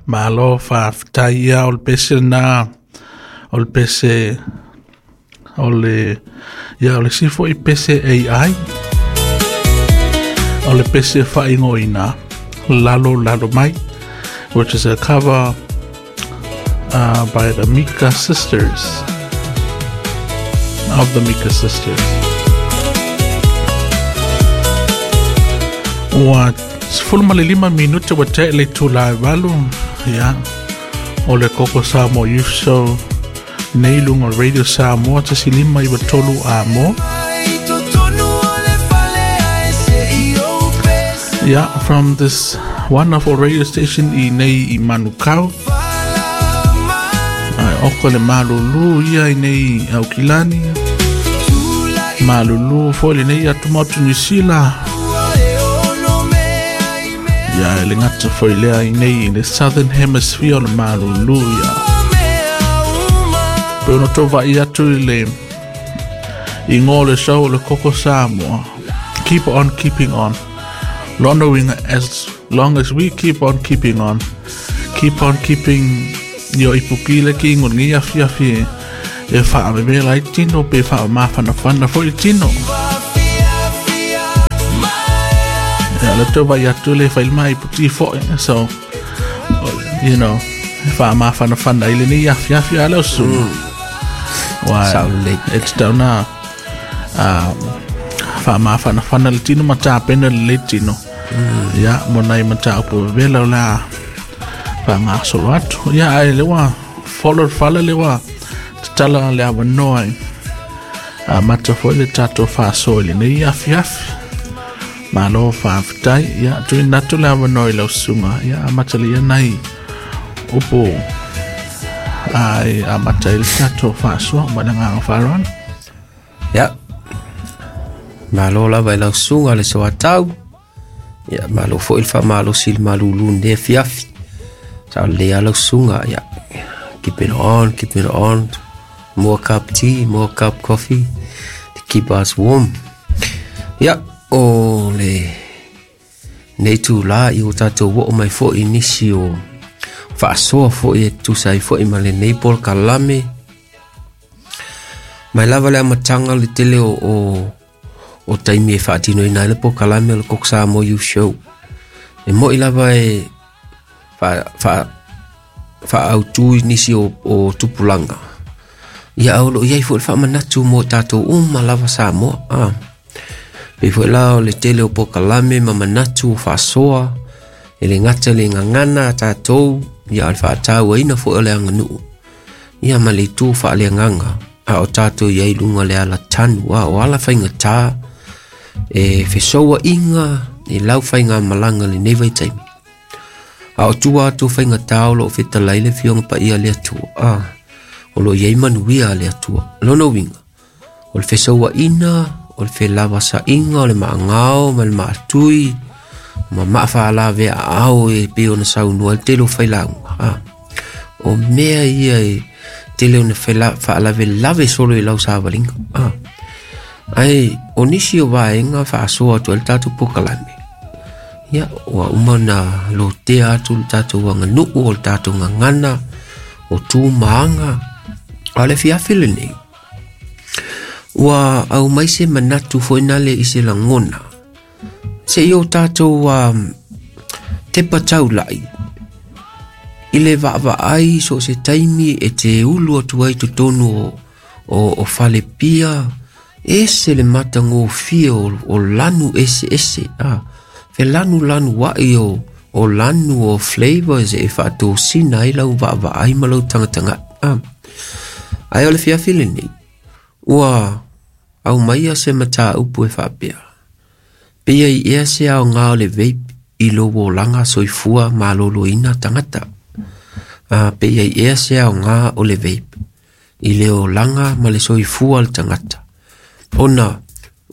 Malo faafetai ia o le pese lena, o le pese o le ia o le isi foi pese AI, o le pese faaigoaina Lalo Lalo Mai, which is a cover by the Mika Sisters, of the Mika Sisters. Ua 15 minute ua tea i le itula e 8, ia, o le Koko Samoa Youth Show nei luga o le Radio Samoa 1.593 Amo. Yeah, from this wonderful radio station i nei i Manukau. Ai, oko le malulu ia i nei Aukilani. Malulu foi le nei atu motu New Zealand. Ia, e le ngata foi lea i nei i le Southern Hemisphere o le malulu ia. Pe ono tau vai atu i le i ngō le show o le Koko Samoa. Keep on keeping on. Lona uiga, as long as we keep on keeping on, keep on keeping yo ipuki le ki ingo ngi afi afi e, e whaavevela ai tino pe whaamafanafana foi i tino. Ia, le tau vai atu le whailima iputi foi, so, you know, whaamafanafana i le nei afi afi a leo su. Wai, Sao lelei. e te tau nā, whaamafanafana le tino ma tāpena le le tino. Ia, mo nai mataupu vevela o le a faagasolo atu. Ia, ae le ua folo le fale le ua tatala le avanoa i amata foi le tatou faasoa i lenei afiafi. Malo faafetai. Ia, tuuina atu le avanoa i lau susuga. Ia, amata le ia nai upu ai amata ai le tatou faasoa ma le agaga faaaloalo. Ia, malo lava i lau susuga le soatau. Ia, malo foi le faamalosi i le malulu lenei afiafi. Sa o lelei lava lau susuga. Ia, keep it on, keep it on. More cup tea, more cup coffee to keep us warm. Ia, o le nei tūlā i o tātou oo mai foi i nisi o faasoa foi e tusa ai foi ma lenei polokalame. Mai lava le amataga o le tele o, o, o taimi e faatinoina ai le polokalame o le Koko Samoa Youth Show. E moi lava e fa, fa, faaautu i nisi o, o tupulaga. Ia a o loo i ai foi le faamanatu mo tatou uma lava Samoa. Ah. Pei foi la o le tele o polokalame ma manatu o faasoa e le gata i le gagana a tatou, ia a o le faatauaina foi o le aganuu. Ia ma le itu faaleagaga a o tatou i ai i luga o le ala tanu, a o ala faigata e fesouaiga i lau faigamalaga i lenei vaitaimi. A o tua atu o faigata o loo fetalai le Afioga Paia a le Atua, a o loo i ai manuia a le Atua. Lona uiga, o le fesouaiga, o le felavasaiga, o le maagao ma le maatui, ma maafaalaveaao e pei ona saunoa ai le tele o failauga. A o mea ia e tele ona faalavelave solo i lau savaliga. A ae o nisi o vaega faasoa atu ai le tatou polokalame, ia ua uma ona lotea atu le tatou aganuu o le tatou gagana o tu ma aga. A o le afiafi lenei, ua aumai se manatu foi nale i se lagona se i o tatou tepa taulai i le vaavaai so o se taimi e te ulu atu ai totonu o, o, o falepia, ese le matagofie o, o lanu eseese, a, felanulanu ai o, o lanu o flavors e faatosina ai lau vaavaai ma lau tagatagai. A, ae o le fiafi lenei, ua aumaia se mataupu e faapea, pei ai ea se aoga o le vape i lou olaga soifua maloloina tagata. A, pei ai ea se aoga o le vape i le olaga ma le soifua o le tagata. Ona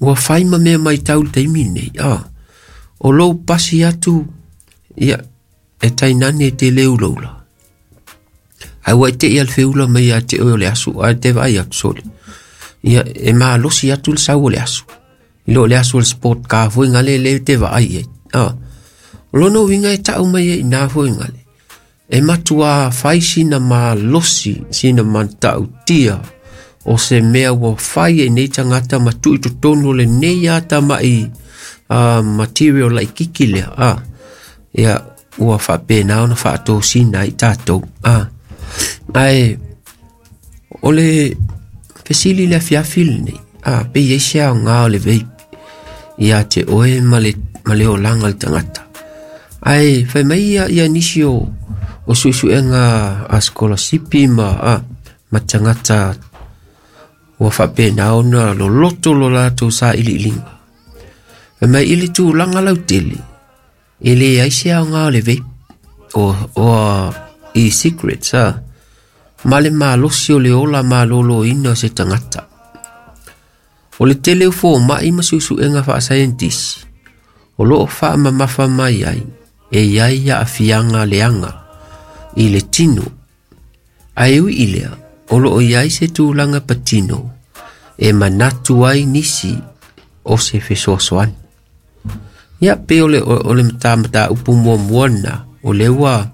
ua fai ma mea maitau i le taimi lenei, a, o lou pasi atu, ia, e tainane e te le ulaula. Ae ua e tei a le feula mai ia te oe o le aso, ae te vaai atu sole. Ia, e malosi atu le sau o le aso. I lo le aso o le sport car foi ngale le te vaai ai. Ah. O lona uiga e tau mai ai inā foi ngale. E matuā fai sina malosi, sina matautia o se mea ua fai e nei tagata ma tuu i totonu o lenei atama'i material laitiiti lea a. Ia ua faapena ona faatosina ai tatou a. Ae o le fesili i le afiafi lenei a, pe i ai se aoga o le vape ia te oe ma le ma le olaga o le tagata. Ae fai mai ia, ia nisi o o suesuega a sikolasipi ma a, ma tagata ua faapena ona loloto lo latou sailiiliga. Fai mai i le tulaga lautele, e leai se aoga o le vape o, o e-cigarettes a, ma le malosi o le ola malōlōina o se tagata. O le tele o fomai ma suesuega faasaienitisi o loo faamamafa mai ai e i ai aafiaga leaga i le tino. Ae ui i lea, o loo i ai se tulaga patino e manatu ai nisi o se fesoasoani. Ia pe o le, o le mataupu muamua lena, o lea ua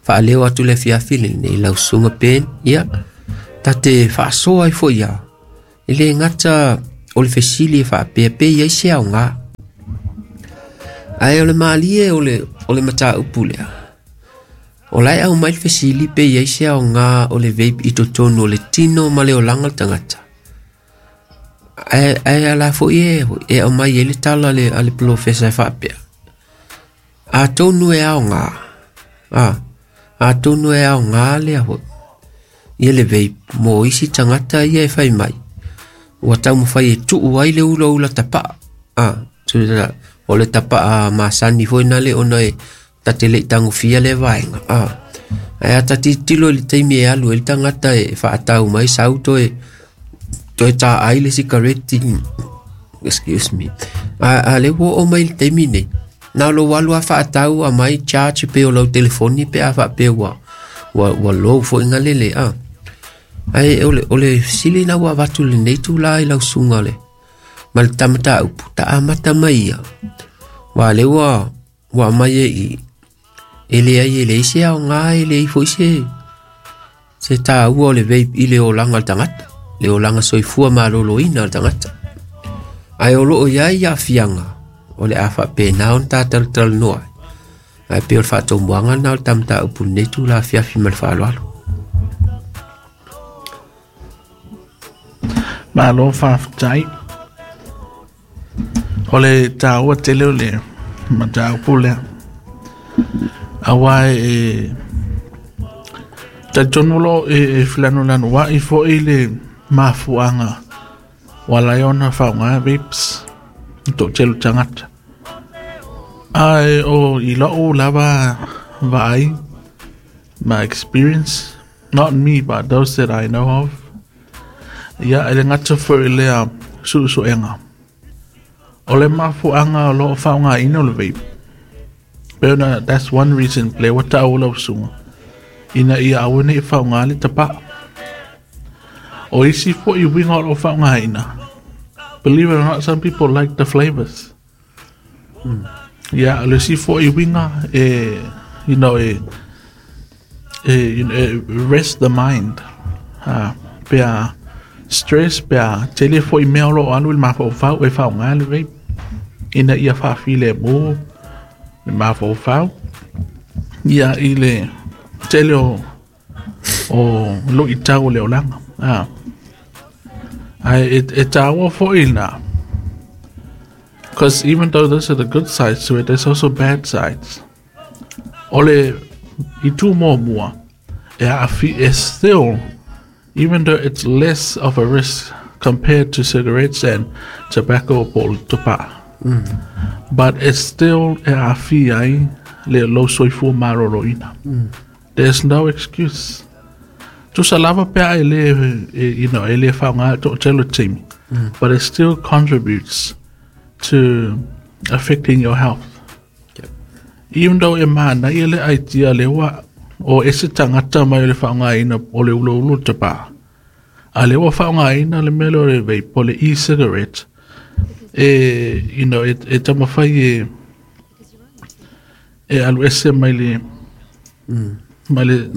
faaleo atu le afiafi lenei lau susuga Ben, ia ta te faasoa ai foi ia. E le gata o le fesili e faapea pe i ai se aoga. Ae o le malie o le, o le mataupu lea. O la e aumai le fesili pe i ai se aoga o le vape i totonu o le tino ma le olaga o le tagata. Ae, ae ala foi e, e aumai ai le tala a le, a le polofesa e faapea. Atonu e aoga, a, atonu e aoga lea foi. Ia le vape mo isi tagata ia e fai mai. Ua taumafai e tuu ai le ulaula tapaa. A, o le tapaa masani foi na le ona e ta te le i tagofia lea vaega. A, ae a ta tilotilo i le taimi e alu ai le tagata e faatau mai sau toe toe taai le sikareti, excuse me, a, a lea ua oo mai i le taimi nei, na o lou alu lava faatau aumai charge pei o lau telefoni pe a faapea ua ua, ua low foi galele a. Ae o le, o le fesili lena ua avatu i lenei itulā i lau susuga le ma le ta mataupu, ta amata mai ia. Aua o lea ua ua aumai e i, e leai e leai se aoga, e leai foi se se taua o le vape i le olaga o le tagata, le olaga soifua maloloina o le tagata. Ae o loo i ai aafiaga o le a faapena ona ta talatalanoa ai. Ae pei o le faatomuaga lena o le ta mataupu i lenei itula afiafi ma le faaaloalo. Malo faafetai. O le taua tele o le mataupu lea. Aua e talitonu loa e felanulanuai foi le mafuaaga ua ala ai ona faaaoga vapes e toatele o tagata. Ae o i lou lava vaai my experience, not me but those that I know of, ia e le gata foi i lea suesuega. O le mafuaaga o lo o faaaogaina o le vape, pei ona that's one reason lea ua taua lau susuga, ina ia aua ne i faaaoga le tapaa. O isi foi uiga o lo o faaaogaina, believe it or not, some people like the flavors. Ia, o le isi foi uiga e, you know, e, e, you know, e rest the mind. Ha, pe a stress, pe a tele foi mea o lo o alu i le mafaufau e faaaoga le vape ina ia faafilemu le mafaufau. Ia, i le tele o o luitau o le olaga. A, ae e, e taua foi na. Because even though those are the good sides to it, there's also bad sides. O le itu muamua, e aafi, e still, even though it's less of a risk compared to cigarettes and tobacco po o le tapaa, but it's still e aafia ai le lou soifua maloloina. There's no excuse. Tusa lava pe a e le, e, you know, e le faaaoga i le toatele o taimi, but it still contributes to affecting your health. Yep. Even though e manaia le idea lea ua o ese tagata mai o le faaaogaina o le uloulu o le tapaa, a lea ua faaaogaina le mea lea o le vape po o le e-cigarette, e, you know, e, e taumafai e, e alu ese mai le, Ma le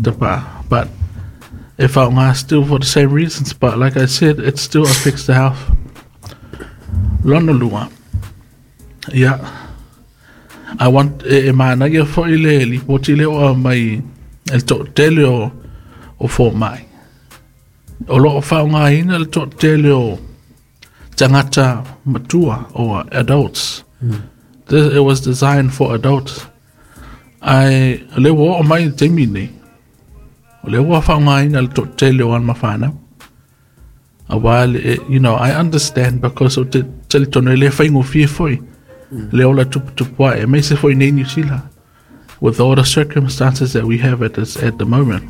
tapa. But e whaonga still for the same reasons, but like I said, it still affects the health. Lona lua. Yeah. I want e mana ia foi le lipoti le o mai el to tele o fo mai. O lo o whaonga ina le to tele o tangata matua or adults. It was designed for adults. Ai le o o mai te mini. O le ua whaonga ina le to tele o an mawhanau. A while, you know, I understand because o te tele tono le whaingo fie foi. Le ola tupu e me se foi nei New Zealand. With all the circumstances that we have at the moment.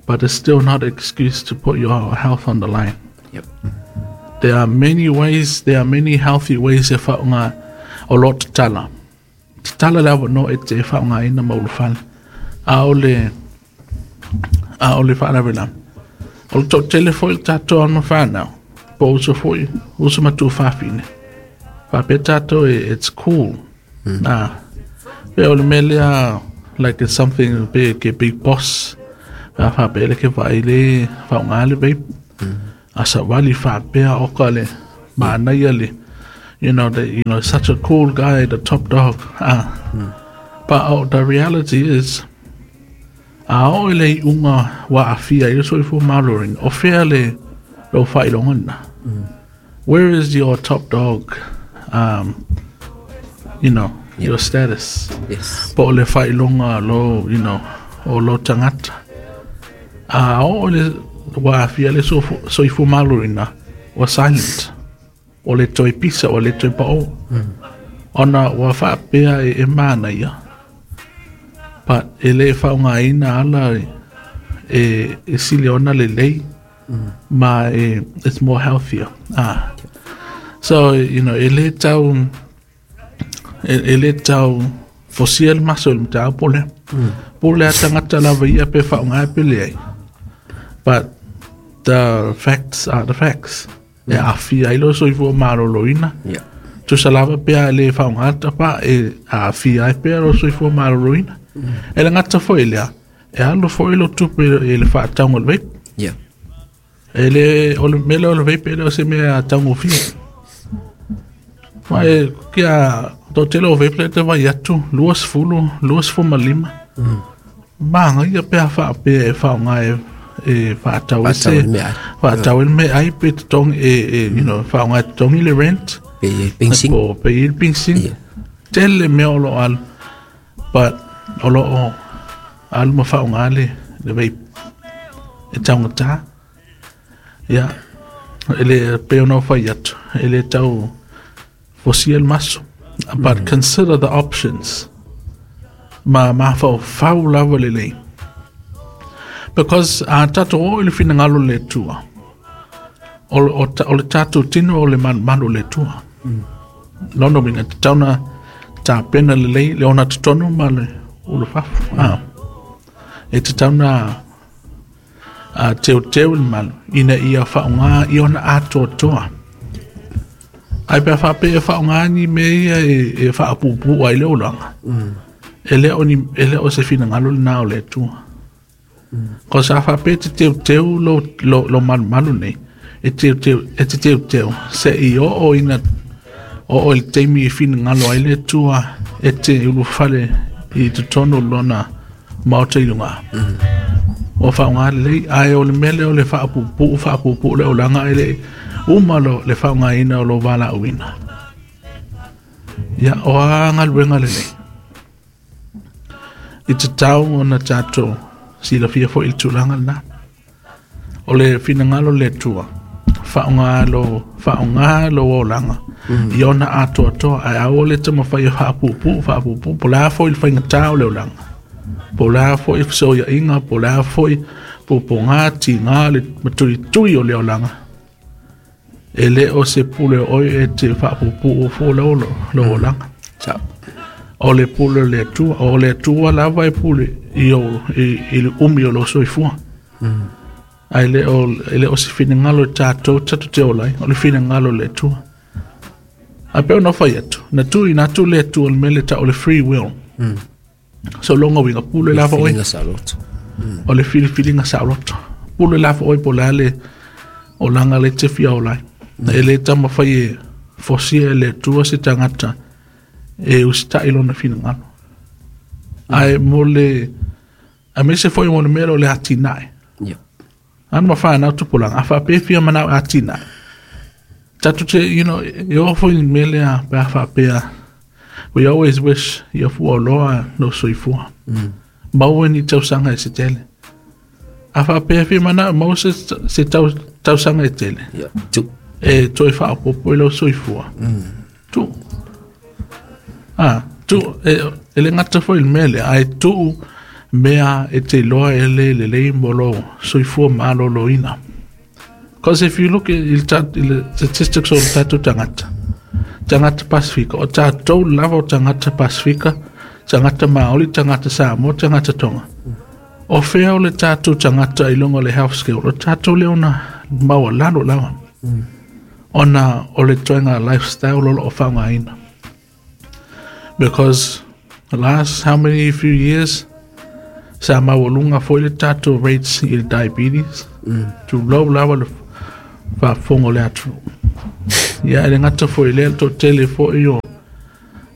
But it's still not an excuse to put your health on the line. Yep. There are many ways, there are many healthy ways e whaonga o lo tatala. Tatala lava no e te whaonga ina maulufale. A ole whaanawela. O le tau tele foi le tātou anma whanau. Po uso foi, uso matu whawhine. Whape tātou, it's cool. Nā. Pe o le melea, like it's something big, a big boss. Whape le ke whaile, whaonga le vape. Asa wali whapea oka le, maanaya le. You know, such a cool guy, the top dog. But the reality is, a o le unga wa afia i so ifo malorin o fea le lo whailongana. Where is your top dog, you know, your status? Yes. Po o le whailonga lo, you know, o lo tangata. A o le wa afia le so ifo malorina wa silent. O le toi pisa, o le toi pao. Ona wa whaapea e mana ia. But e le whaonga ina ala e sili ona le lei, ma it's more healthier. So, you know, e le tau fosia le maso le mtau pole. Pole a tangata lava ia pe whaonga e pele ai. But the facts are the facts. E awhia ilo so ifo maroloina. Yeah. Tusa lava pea le whaonga tapa e awhia ai pea lo so ifo maroloina. E le ngata foi lea, e alo foi lo tupe e le whaataunga le vape. Yeah. E le, o le mele o le vape e le o se mea taungo fia. Ma e kia tō tele o vape le te vai atu, 25. Maanga ia pea whaapea e whaonga e whaatau e se. Whaatau e me ai pe te tongi e, you know, whaonga e te tongi le rent. Pe pingsing. Po, pe i le pingsing. Tele mea o lo alu. But o lo o alu ma whaonga le vape e taunga tā. Ia, e le peo nau whai atu, e le tau fosia le maso. But consider the options. Ma whao whau lava le lei. Because a tātou o le whina le tua. O le tātou tino o le manu le tua. Lono minga te tauna tā pena le lei, le ona te tonu ma le ulu fafu. E te tauna teo teo le malu, ina ia whaonga i ona atoa toa. Ai pea whape e whaonga ni me ia e whaapupu ai le olanga. E le o se whina ngalo le nao le tua. Ko sa whape te teo teo lo malu malu nei, e teo teo, e te teo teo, se i o ina o le teimi e whina ngalo ai le tua, e te ulu whale i te tono lona maota i lunga. O whaonga lei, ai o le mele o le whaapupu le olanga e le umalo le whaonga ina o lo wala uina. Ia, o a ngaluenga le lei. I te tau o na tātou, si la fia fo il tūlanga na. O le whina ngalo le tua, whaonga lo olanga. I ona atoa toa, ai au le te mawhai o whaapupu, po la fo il whainga tau le olanga. Po la fo i whasoia inga, po la fo i po ngā ti ngā le maturi tui o le olanga. E le o se pule oi e te whaapupu o fo le olanga. O le pule le tua, o le tua lava e pule i le umi o lo soifua. Ai le o se whina ngalo tātou tatu te olai, o le whina ngalo le tua. Ai peo na whai atu, na tui na tu le tua le mele ta o le free will. Sologa uiga pule lava oe. Filiga saoloto. O le filifiliga saoloto. Pule lava oe po o le a le olaga lea e te fia ola ai. E le taumafai e fosia e le Atua se tagata e usitai lona finagalo. Ae mo le aemaise foi mo le mea lea o le atinae. Ia. Ana ma fanau tupulaga, a faapea e fia manao e atinae, tatou te, you know, e oo foi i le mea lea pe a faapea, we always wish ia fuaoloa lou soifua. Maua ni tausaga e se tele. A faapea e fia manao e maua se, se tau, tausaga e tele, Ia. Tu. e toe faaopoopo i lou soifua. Tuu. Ah, tuu, e, e le gata foi i le mea lea, ae tuu mea e te iloa e le lelei mo lou soifua maloloina. Because if you look at i le i le statistics o le tatou tagata, tagata Pasifika, o tatou lava o tagata Pasifika, tagata Māori, tagata Samoa, tagata Tonga. O fea o le tatou tagata i luga o le health scale, o tatou lea ona maualalo lava. Ona o le ituaiga lifestyle o lo o faaaogaina. Because the last how many few years, sa maualuga foi le tatou rates i le diabetes, tulou lava le faafofoga o le atunuu. Ia, e le gata foi i lea, le toatele foi o,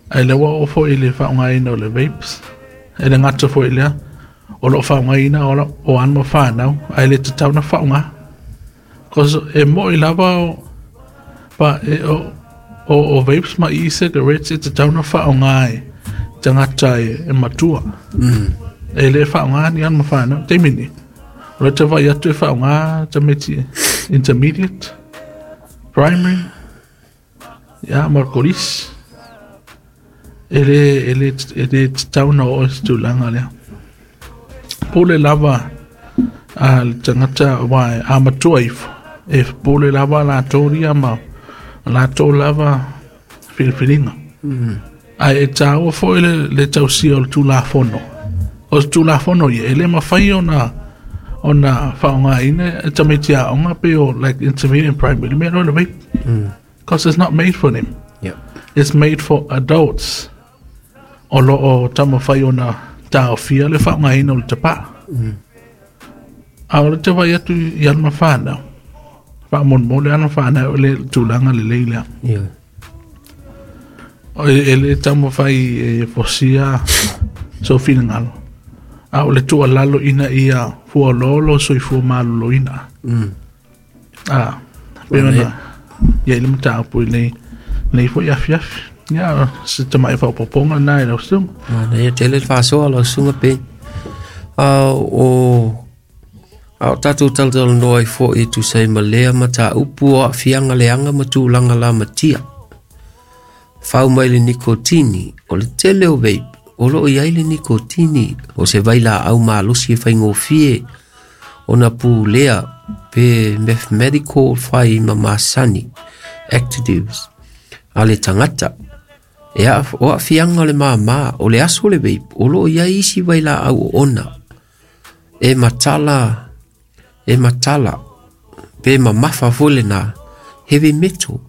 ae lea ua oo foi i le faaaogaina o le vapes, e le gata foi i lea, o lo o faaaogaina o alo ma fanau, ae le tatau ona faaaoga. Cause e moi lava o, pa, e, o, o, o vapes ma e-cigarettes e tatau ona faaaoga e tagata e, e matua. E le faaaoga ni alo ma fanau. Taimi nei, o le te vaai atu e faaaoga tamaiti intermediate, primary, ia, ma le kolisi. E le, e le, e le tatau ona oo i se tulaga lea. Pule lava a le tagata aua a matua ifo, e pule lava latou ia ma latou lava filifiliga. Ae e taua foi le, le tausia o le Tulafono. O le Tulafono ia, e le mafai ona ona faaaogaina e tamaiti aoga pe o like intermediate and primary, le mea lea o le vape. Because it's not made for them. Yeah. It's made for adults. O lo o taumafai ona taofia le faaaogaina o le tapaa. A o le te vaai atu i ana fanau, faamolemole ana fanau i le tulaga lelei lea. Ia. O e, e le taumafai e fosia sou finagalo, a o le tuualalo ina ia fuaoloolo soifua maloloina. A, pei ona i ai le mataupu i lenei, lenei foi afiafi. Ia, se tamai faaopoopoga lena i lau susuga. Manaia tele le faasoa lau susuga Peni. A o a o tatou talatalanoa ai foi e tusa ai ma lea mataupu o aafiaga leaga ma tulaga lamatia. Fau mai le nikotini, o le tele o vape, o lo o i ai le nikotini, o se vailaau malosi e faigofie ona pulea pe mathematical fai ma masani, actives, a le tagata. E a, o aafiaga o le māmā, o le aso o le vape, o lo o i ai isi vailaau oona e matala, e matala, pe mamafa foi lena, heavy metal.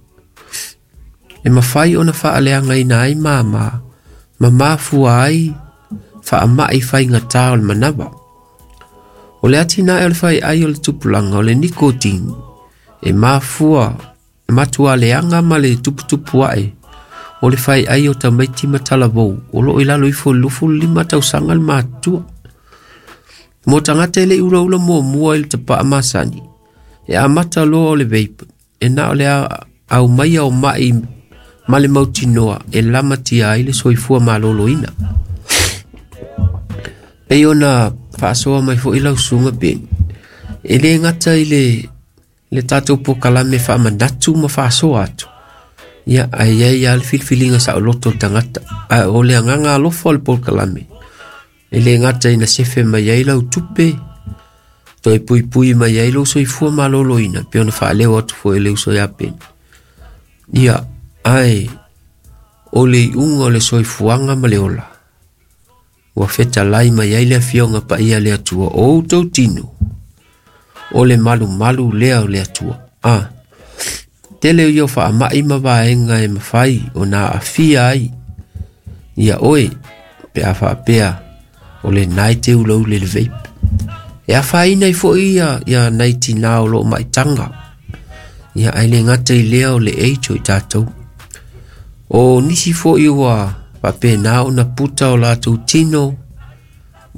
E mafai ona faaleagaina ai māmā, ma mafua ai faamai faigata o le manava. O le atinae o le faiai o le tupulaga o le nikotini, e mafua e matua leaga ma le tuputupu ae o le faiai o tamaiti ma talavou o lo o i lalo ifo i le 25 tausaga le matutua. Mo tagata e le i ulaula muamua i le tapaa masani, e amata loa o le vape, e na o le aumaia o mai ma le mautinoa e lamatia ai le soifua maloloina. Pei ona faasoa mai foi lau susuga Beni, e le gata i le, le tatou pokalame faamanatu ma faasoa atu, ia, ae i ai lava le filifiliga saoloto o le tagata. Ae o le agaga alofa o le pokalame, e le gata ina sefe mai ai lau tupe, toe puipui mai ai lou soifua maloloina, pei ona faaleo atu foi e le uso ia Beni. Ia, ae o le iuga o le soifuaga ma le ola, ua fetalai mai ai le Afioga Paia a le Atua o outou tino, o le malumalu lea o le Atua. A, tele ia o faamai ma vaega e mafai ona aafia ai ia oe pe a faapea O lenā e te ulaula i le vape. E afaina ai foi ia nai tinā o loo maitaga. Ia ae le gata i lea o le age o i tatou. O nisi foi ua faapena ona puta o latou tino,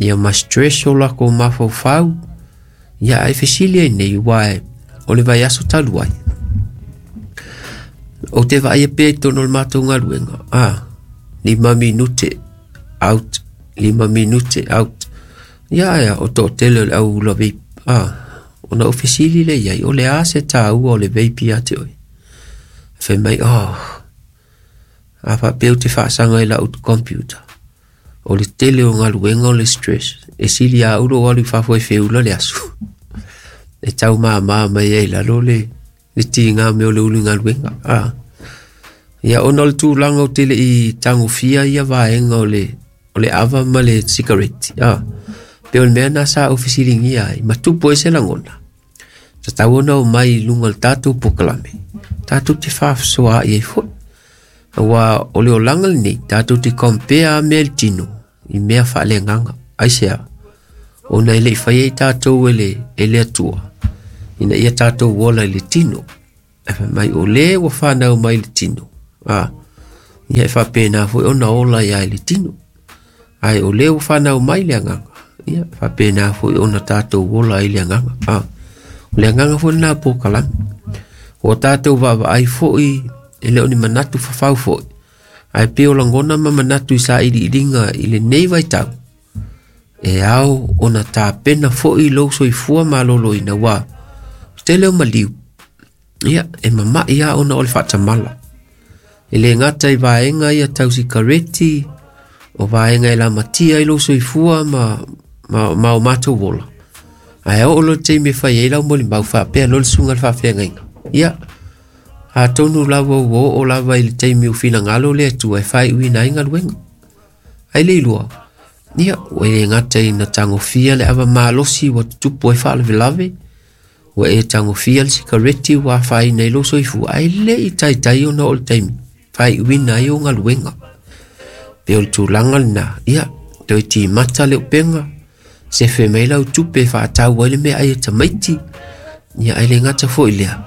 ia ma stress o lakou mafaufau. Ia ae fesili ai nei ua e o le vaiaso talu ai. Ou te vaaia pea i totonu o le matou galuega, 5 minute out, 5 minute out. Ia ae o toatele o le au ula vape. Ona ou fesili lea i ai, o le a se taua o le vape ia te oe? Fai mai, oh, a faapea ou te faasaga i lau computer. O le tele o galuega o le stress. E sili a au lou alu i fafo e feula le aso. E tau māmā mai ai lalo le tiga mea o le ulu i galuega. Ia ona o le tulaga o te lei tagofia ia vaega o le ava ma le sikareti. Pe o le mea na sa ou fesiligia ai, ma tupu ai se lagona. Tatau ona omai i luga o le tatou polokalame. Tatou te faasoaai ai foi. Aua o le olaga lenei, tatou te compare a mea i le tino i mea faaleagaga. Aisea? Ona e lei faia i tatou e le Atua, ina ia tatou ola i le tino. E fai mai o le ua whanau mai le tino. Ia e faapena foi ona ola ia i le tino. Ai o le ua whanau mai le agaga. Ia e faapena foi ona tatou ola i le agaga. O le agaga foi lena polokalame. O tatou vaavaai foi e le o ni manatu fafau foi. Ae pei o lagona ma manatu i sailiiliga i lenei vaitau. E ao ona tapena foi lou soifua maloloina ua tele o maliu. Ia, e mamai a ona o le faatamala. E le gata i vaega ia tau sikareti, o vaega e lamatia ai lou soifua ma o matou ola. Ae oo loa le taimi e fai ai lau molimau faapea loa le susuga i le faafeagaiga. Ia, atonu lava ua oo lava i le taimi o finagalo le Atua e faaiuina ai galuega. Ai le ilua, ia, ua e le gata ina tagofia le ava malosi ua tutupu ai faalavelave, ua e tagofia le sikareti ua afaina i lou soifua, ae le i taitai ona oo le taimi faaiuina ai o galuega. Pe o le tulaga lena, ia, toe timata le upega, sefe mai lau tupe e faatau ai le mea ai e tamaiti, ia ai le gata foi lea.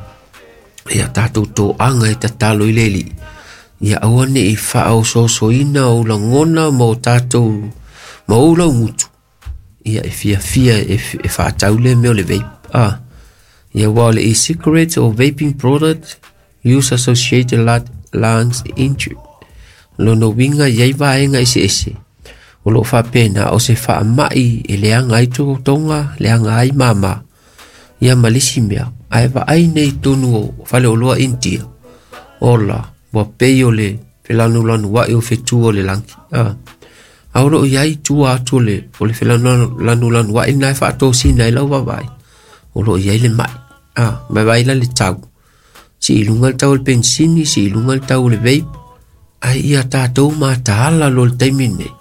Ia tatou toaga e tatalo i le Alii. Ia aua ne i faaososoina o lagona ma o tatou ma ou laugutu. Ia e fiafia e faatau le mea o le vape. Ia ua o le e-cigarette or vaping product use associated lungs injury. Lona uiga i ai vaega eseese. O loo faapena o se faamai e leaga ai totoga, leaga ai mama. Ia ma le isi mea, ae vaai nei tonu o faleoloa India. Ola, ua pei o le felanulanuai o fetu o le lagi. A o loo iai tua atu o le felanulanuai na e faatosina ai lau vaavaai. O loo iai le mai. Ma vai la le tau. Si i luga le tau o le pensini, si i luga le tau o le vape. Ai ia tatou mataala lo le taimi nei.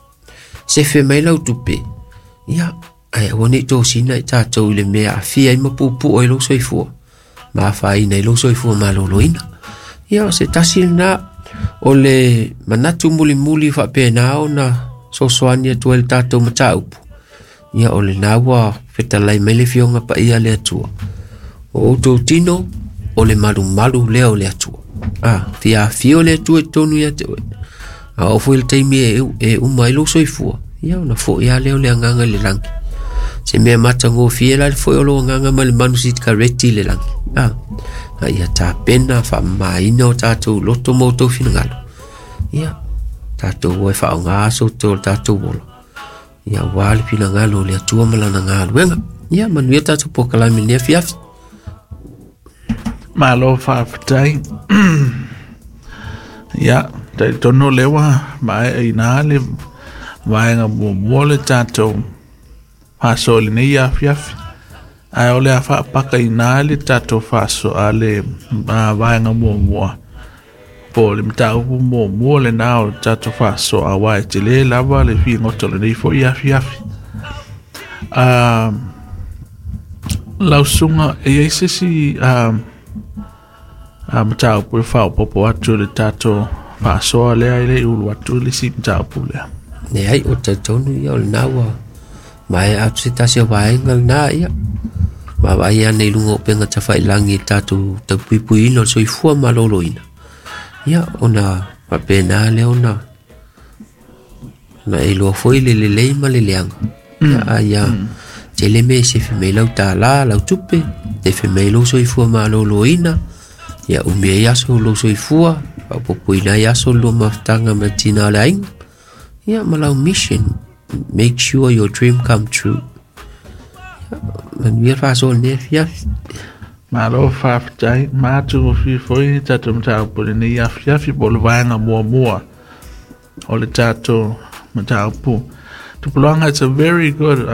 Sefe mai lau tupe. Ia, ai aua nei tosina i tatou i le mea afia ai ma puupuu ai lou soifua. Ma afaina i lou soifua maloloina. Ia, o se tasi lena o le manatu mulimuli faapena ona sosoani atu ai le tatou mataupu. Ia, o lena ua fetalai mai le Afioga Paia le Atua. O outou tino, o le malumalu lea o le Atua. Fia afio le Atua i totonu ia te oe. A oo foi le taimi e uma ai lou soifua, ia ona foi lava lea o le agaga i le lagi. Se mea matagofie la le foi o lou agaga ma le manu sikareti i le lagi. A ia tapena faamamaina o tatou loto ma outou finagalo. Ia, tatou o e faaaoga aso o le tatou ola. Ia, aua le finagalo o le Atua ma lana galuega. Ia, manuia tatou polokalame i lenei afiafi. Malo faafetai. Ia, talitonu lea ua maea ina le vaega muamua le tatou faasoa i lenei afiafi. Ae o le a faapaka ina le tatou faasoa le vaega muamua. Po o le mataupu muamua lena o le tatou faasoa aua e tele lava le figota o lenei foi afiafi. Lau susuga, e i ai se isi mataupu e faaopoopo atu i le tatou faasoa lea e le i ulu atu i le isi mataupu lea. Leai, o talitonu ia o lena ua Maea atu se tasi o vaega lenā ia. Vaavaai ane i luga o upega tafailagi i le tatou taupuipuiina o le soifua maloloina. Ia ona faapena lea ona na e iloa foi le lelei ma le leaga. Ia a ia tele mea e sefe mai lau tālā, lau tupe, sefe mai lou soifua maloloina, ia umi ai aso o lou soifua, faaopoopoina ai aso o le lua mafutaga ma le tina o le aiga. Ia ma lau mission, make sure your dream come true. Ia, manuia le faasoa i lenei afiafi. Malo faafetai, matagofie foi tatou mataupu i lenei afiafi po o le vaega muamua o le tatou mataupu. Tupulaga, it's a very good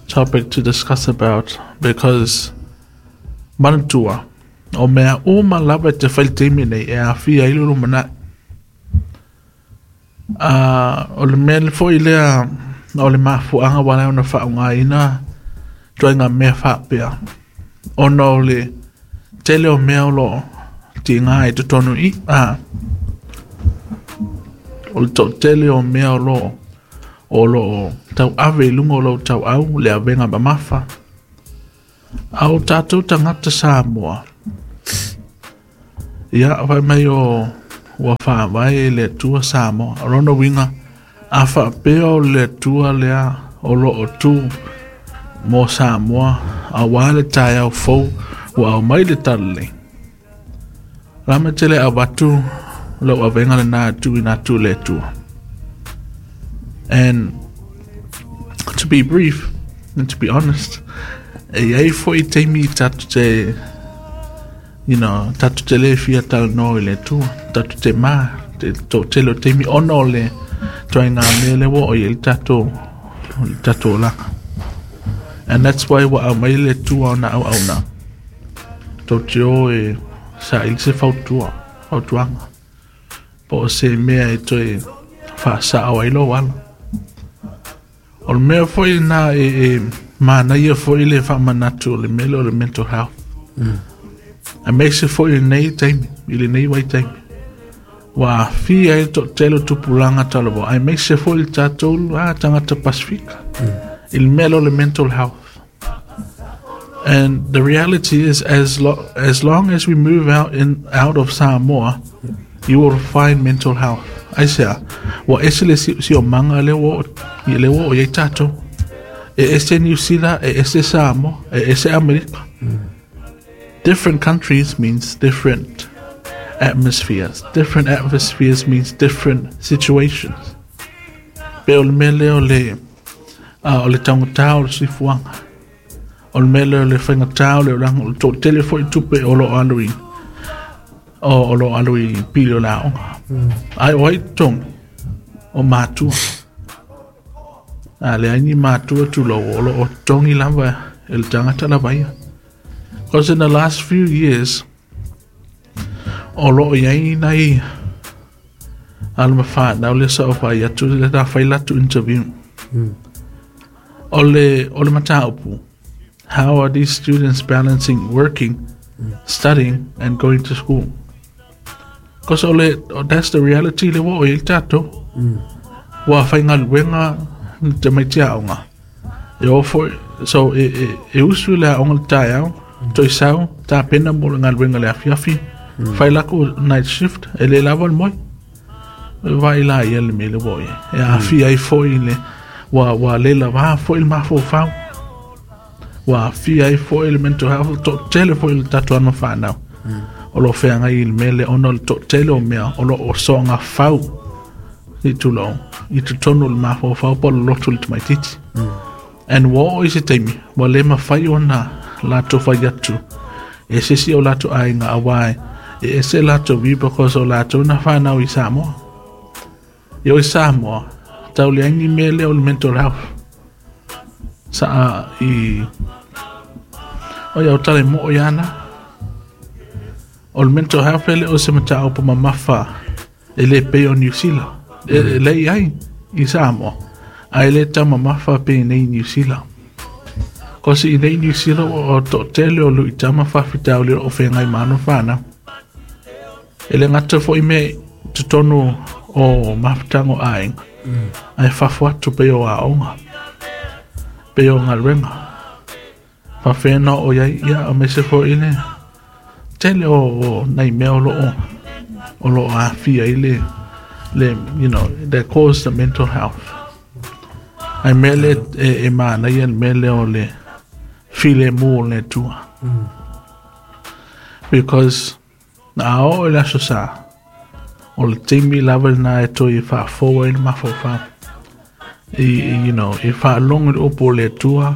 topic to discuss about because manatua, o mea uma lava e te fai i le taimi nei e aafia ai le lumanai. O le mea foi lea o le mafuaaga ua ala ai ona faaaogaina ituaiga mea faapea, ona o le tele o mea o lo o tiga i totonu i i, o le toatele o mea o lo o lo o tauave i luga o lou tauau le avega mamafa. A o tatou tagata Samoa, ia, fai mai o ua faavae e le Atua Samoa. O lona uiga, a faapea o le Atua lea o lo o tu mo Samoa aua le taeao fou ua aumai le talalelei, o le a mea e te le avatu lau avega lena e tuuina atu i le Atua? And to be brief and to be honest, e i ai foi taimi tatou te tatou te le fia talanoa i le Atua, tatou te ma te toatele o taimi ona o le ituaiga mea lea ua oo i ai le tatou olaga. And that's why ua aumai le Atua ona auauna tou te o e saili se fautuaga po o se mea e toe faasao ai lou ala. O le mea foi lena e manaia foi le faamanatu o le mea lea o le mental health. Aemaise foi i lenei taimi, i lenei vaitaimi, ua aafia ai le toatele o tupulaga talavou, aemaise foi le tatou tagata Pasifika i le mea lea o le mental health. And the reality is, as long as we move out of Samoa, you will find mental health. Aisea, ua ese le siosiomaga lea ua oo i ai tatou. E ese New Zealand, e ese Samoa, e ese Amerika. Different countries means different atmospheres. Different atmospheres means different situations. Pe o le mea lea o le o le taugata o le soifuaga. O le mea lea o le faigata o le olaga, o le toatele foi tupe o lo o alu i o lo o alu i pili o le aoga. Ai o ai totogi? O matua. A leai ni matua tulou o lo o totogi lava e le tagata lava ia. Because in the last few years, o lo o iai nai alo ma whanau lea sa o whai atu, le na whai latu interview. O le mataupu, how are these students balancing working, studying and going to school? Because that's the reality le ua o i ai le tatou. Ua faigaluega tamaiti aoga. E o foi, so e usu i le aoga le taeao, toe sau, tapena mo le galuega le afiafi, fai lako night shift, e le lava le moe. E vaai la ia le mea le ua o i ai. E aafia ai foi le, ua le lava foi le mafaufau. Ua aafia ai foi le mental health, toatele foi le tatou alo ma fanau. O lo o feagai i le mea lea ona o le toatele o mea o lo o soga fau i tulou, i totonu o le mafaufau po o le loto o le tamaitiiti. And ua oo i se taimi, ua le mafai ona latou fai atu e se isi o latou aiga aua e ese latou view because o latou na whanau i Samoa. I o i Samoa, tau leai ni mea lea o le mental health. Sa i o ia o tala i moo ia ana. O le mental health e le o se mataupu mamafa e le pei o New Zealand. E le i ai i Samoa. Ae le taumamafa pe nei New Zealand. Cause i nei New Zealand o toatele o luitau ma faafitauli o feagai ma alo ma fanau. E le gata foi mea i totonu o mafutaga o aiga. Ae fafo atu pei o aoga, pei o galuega. Faapefea ona oo i ai, ia aemaise foi le tele o nai mea o lo o aafia ai le you know, that cause the mental health. Ae mea lea e manaia le mea lea o le filemu o le Atua. Because a oo i le Aso Sa, o le taimi lava lena e toe faafou ai le mafaufau. I, you know, e faalogo i le upu o le Atua,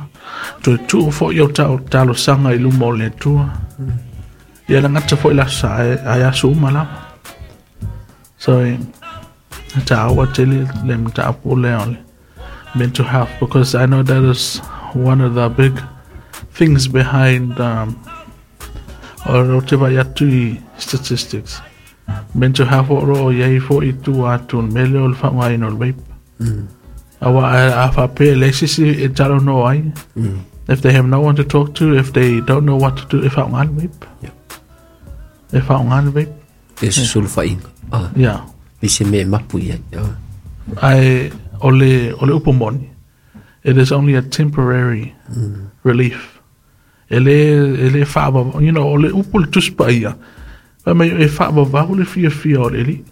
toe tuu foi au talosaga i luma o le Atua. Ia le gata foi le Aso Sa, ae aso uma lava. So, e taua tele le mataupu lea o le mental health, because I know that is one of the big things behind o te vaai atu i statistics. Mental health o lo o i ai foi i tua atu o le mea lea o le faaaogaina o le vape. Aua a faapea e leai se isi e talanoa ai, if they have no one to talk to, if they don't know what to do, e faaaoga le vape. E faaaoga le vape. E susulufaʻiga. Yeah. I se mea e mapu i ai. Ae o le upu moni, it is only a temporary relief. E le faavavau, you know, o le upu le Tusi Paia, fai mai e faavavau le fiafia o le alii,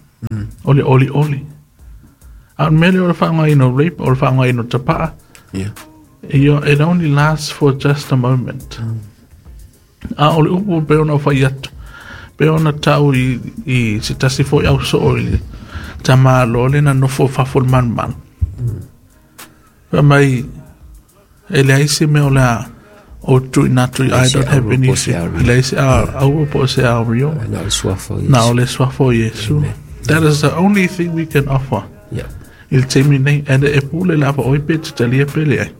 o le olioli. A o le mea lea o le faaaogaina o rape, o le faaaogaina o tapaa, it only lasts for just a moment. A o le upu pei ona fai atu, pei ona tau i se tasi foi au soo i le tamāloa le na nofo fafo i le malumalu. Fai mai, e leai se mea o le a o tuuina atu, I don't have anything. E leai se auro po o se aurio. Na o le suafa o Iesu. Na o le suafa o Iesu. That is the only thing we can offer. I le taimi nei, and e pule lava oi pe te talia pe leai.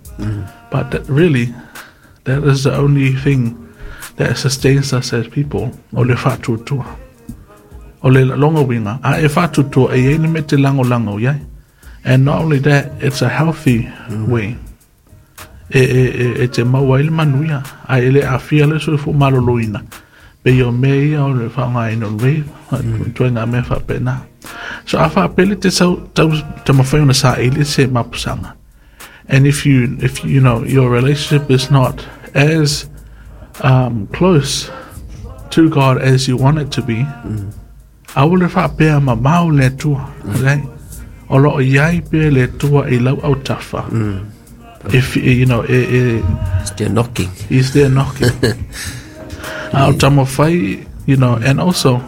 But that, really, that is the only thing that sustains us as people, o le faatuatua. O le longa uiga, a e faatuatua e i ai le mea e te lagolago i ai. And not only that, it's a healthy way. E te maua ai le manuia, ae e le aafia le soifua maloloina. Pei o mea ia o le faaaogaina o le vape, ituaiga mea faapena. So a faapea le te sau taumafai ona saili se mapusaga. And if you know, your relationship is not as close to God as you want it to be, aua le faapea mamao le Atua, leai. O lo o i ai pea le Atua i lau autafa. If you know, He's there knocking. He's there knocking. A o taumafai, you know, and also,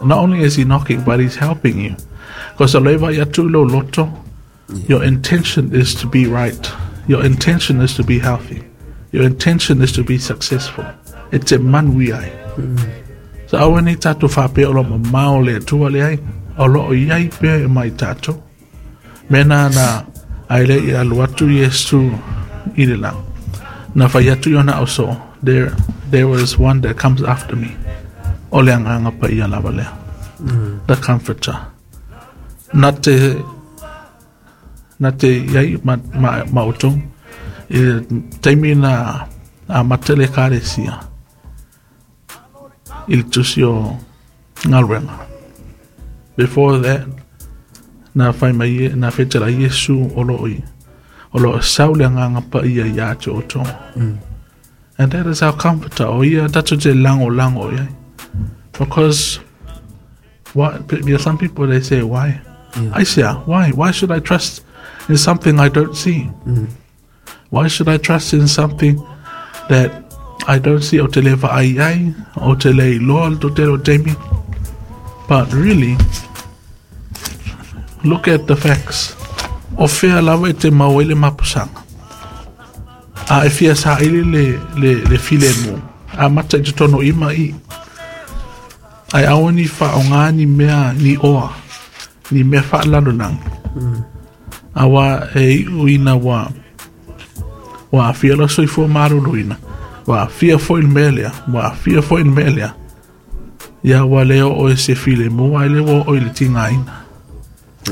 not only is he knocking, but he's helping you. Because o le vaai atu i lou loto, your intention is to be right. Your intention is to be healthy. Your intention is to be successful. E te manuia ai. So aua nei tatou faapea o lo mamao le Atua leai, o lo o i ai pea e mai tatou. Mena na ai le i alu atu Iesu i le lagi. Na fai atu i ona ausoo, there was one that comes after me. O le Agaga Paia lava lea. The Comforter. Na te i ai ma outou i le taimi na amata le Ekalesia i le tusi o galuega. Before that, na fai mai na fetela Iesu o lo o sau le Agaga Paia ia te outou. And that is our comforter. O ia tatou te lagolago i ai. Because what, some people they say, why? I say, why? Why should I trust in something I don't see? Why should I trust in something that I don't see? O te le vaai ai, o te le iloa le totele o taimi. But really, look at the facts. O fea lava e te mau ai le mapusaga. A e fia saili le filemu. A mata i te tono ima i. Ai aua ni faaaoga ni mea ni oa, ni mea faalalolagi. Aua e iu ina ua aafia lau soifua maloloina, ua aafia foi le mea lea, ua aafia foi le mea lea. Ia ua le oo e se filemu, ae le ua oo i le tigaina.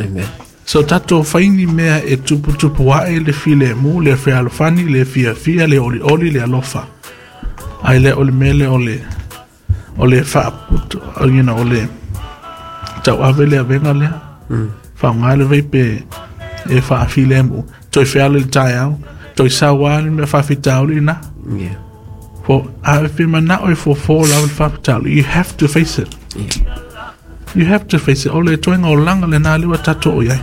Amen. So tatou fai ni mea e tuputupu ae le filemu, le fealofani, le fiafia, le olioli, le alofa. Ae le o le mea lea o le faaputu, you know, o le tauave le avega lea. Faaaoga le vape e faafilemu toe fealo i le taeao toe sauā le mea faafitauli lena. Yeah. For a pe manao e fofo lava le faafitauli, you have to face it. Yeah. You have to face it. O le toega olaga lena lea ua tatou o i ai.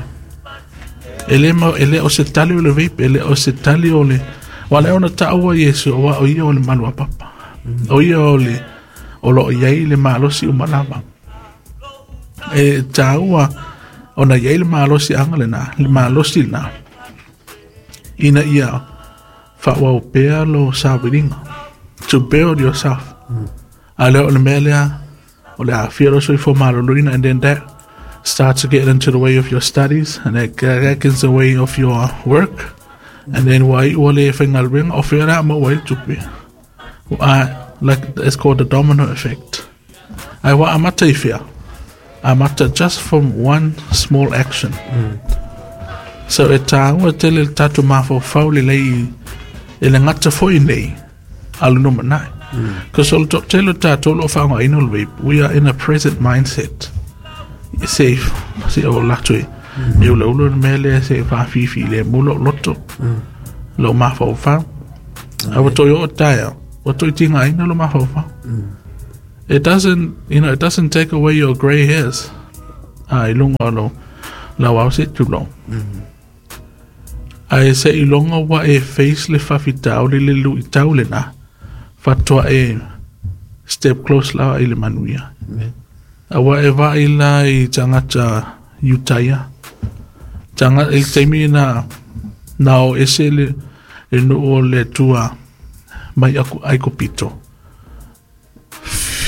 E le ma e le o se tali o le vape, e le o se tali o le wa le ona taua Iesu o wa o ia o le malu a papa. O ia o le o lo o i ai le malosi uma lava. E taua ona i ai le malosiaga lena, le malosi lena, ina ia faaauau pea lo sailiga, to build yourself. A lea o le mea lea, o le aafia lo soifua maloloina, and then that starts to get into the way of your studies, and that gets the way of your work, and then ua iu ua le faigaluega, o fea le a maua ai le tupe. Like, it's called the domino effect. Ae ua amata i fea? Amata just from one small action. So e tāua tele le tatou mafaufau lelei i le gata foi nei a le lumanai. Because o le toatele o tatou o lo o faaaogaina o le vape, we are in a present mindset. Se se o latou e e ulaula le mea lea se faafifi le mu lou loto, lou mafaufau. A ua toe oo taeao, ua toe tigaina lou mafaufau. It doesn't, you know, it doesn't take away your grey hairs. A i luga o lou lauao se tulou. Ae seiloga ua e face le faafitauli le luitau lena, faatoa e step close lava i le manuia. Aua e vaai la i tagata Iutaia, taga, i le taimi na, na o ese le, le nuu o le Atua mai aku Aikupito.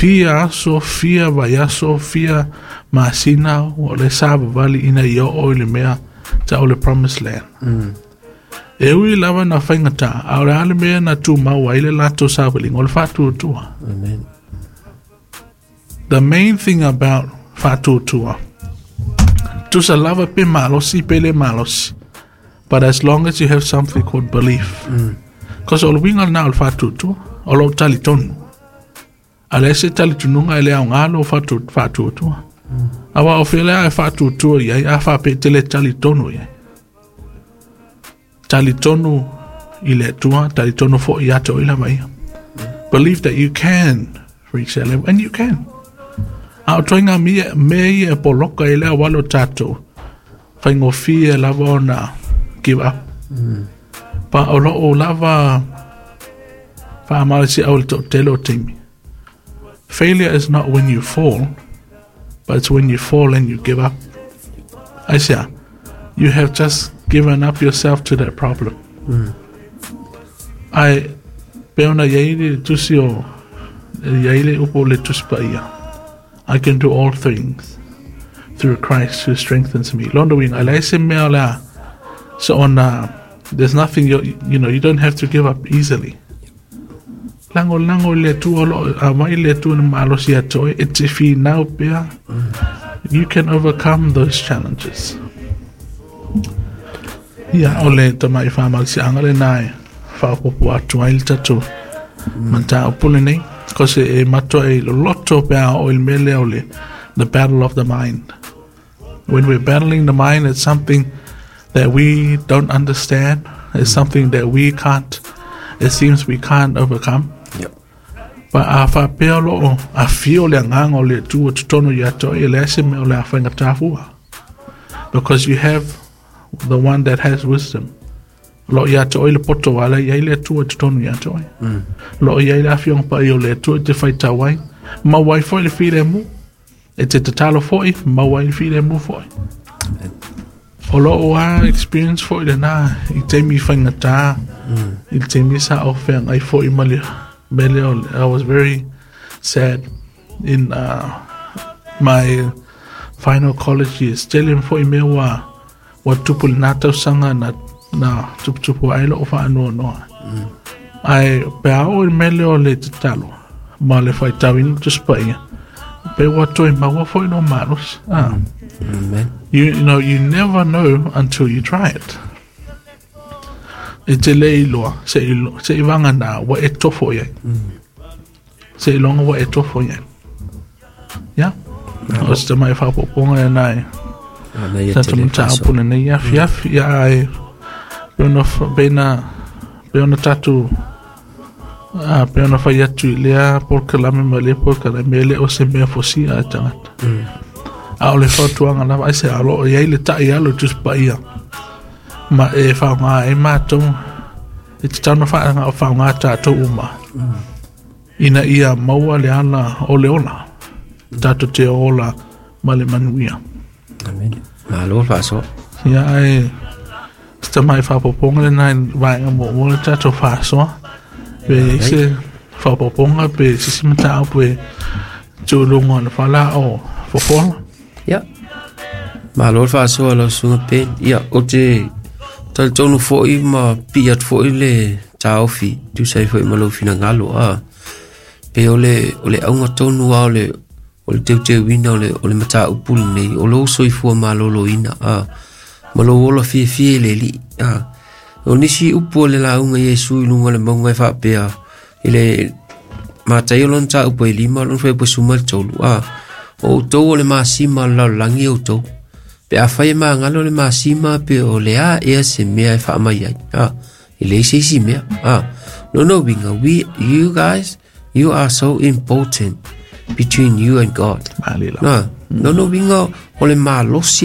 Fia aso, fia vaiaso, fia masina o le savavali ina ia oo i le mea tau o le Promised Land. E ui lava na faigata, a o le a le mea na tumau ai le latou savaliga, o le faatuatua. Amen. The main thing about faatuatua, tusa lava pe malosi pe le malosi, but as long as you have something called belief. Because o le uiga lena o le faatuatua, o lou talitonu. A leai se talitonuga e le aoga lou faatuatua. Aua o fea le a e faatuatua i ai, a faapea e te le talitonu i ai. Talitonu i le Atua, talitonu foi ia te oe lava ia. Believe that you can reach that level, and you can. A o ituaiga mea ia e poloka i le auala o tatou, faigofie lava ona give up. Pa o lou lava faamalosiau i le toatele o taimi. Failure is not when you fall, but it's when you fall and you give up. Aisea, you have just given up yourself to that problem. Ae, pe ona i ai le tusi o, i ai le upu o le Tusi Paia, I can do all things through Christ who strengthens me. Lona uiga, e leai se mea o le a, so ona, there's nothing, you, you know, you don't have to give up easily. Lagolago i le Atua o lo o aumai le Atua i le malosi ia te oe, e te finau pea. You can overcome those challenges. Ia, o le tamai faamalosiaga lena e faaopoopo atu ai le tatou mataupu lenei. Cause e matua e loloto pe a oo i le mea lea o le the battle of the mind. When we're battling the mind, it's something that we don't understand. It's something that we can't, it seems we can't overcome. Yep. But a faapea o lo o afio le agaga o le Atua totonu ia te oe, e leai se mea o le a faigata fua. Because you have the one that has wisdom. O lo o ia te oe le poto a la e i ai le Atua i totonu ia te oe. O lo o i ai le afioga paia o le Atua e te faitau ai. Maua ai foi le filemu. E te tatalo foi, maua ai le filemu foi. O lou lava experience foi lena i taimi faigata, i le taimi sa ou feagai foi ma le mea lea o le, I was very sad in my final college years. Tele foi mea ua, ua tupu i lena tausaga na, na tuputupu ai lou faanoanoa. Ae pe a oo i le mea lea o le tatalo ma le faitauina o le Tusi Paia, pe ua toe maua foi lou malosi. Ah. Amen. You know, you never know until you try it. E te le iloa, se i, se i vagana ua e tofo i ai. Seiloga ua e tofo i ai. Ia, o se tamai faaopoopoga lena e Manaia tatou tele le mataupu faasoa. Lenei afiafi ia ae pe ona pe na pe ona tatou pe ona fai atu i lea polokalame ma lea polokalame e le o se mea fosia e tagata. A o le fautuaga lava ai se alo o i ai le taʻialo i Tusi Paia ma e faaaoga ai matou e tatau ona faaaoga tatou uma ina ia maua le ala o le ola tatou te ola ma le manuia. Amene. Malo le faasoa. Ia ae se tamai faaopoopoga lena i vaega muamua le tatou faasoa pe i ai se faaopoopoga pe se isi mataupu e tuuluga o le fala o fofola. Ia. Malo le faasoa lau susuga Ben. Ia, ou te talitonu foi ma pii atu foi le taofi tusa ai foi ma lou finagalo. Pe o le, o le auga tonu lava o le, o le teuteuina o le, o le mataupu lenei, o lou soifua maloloina, ma lou ola fiafia i le Alii. O nisi upu o le lauga Iesu i luga o le mauga e faapea, i le Mataio lona mataupu e 5, lona fuaiupu e 13, o outou o le masima o le lalolagi outou. Pe afai e magalo le masima pe o le a ea se mea e faamai ai. E leai se isi mea. Lona uiga, we, you guys, you are so important between you and God. Malie lava. Na, lona uiga o le malosi.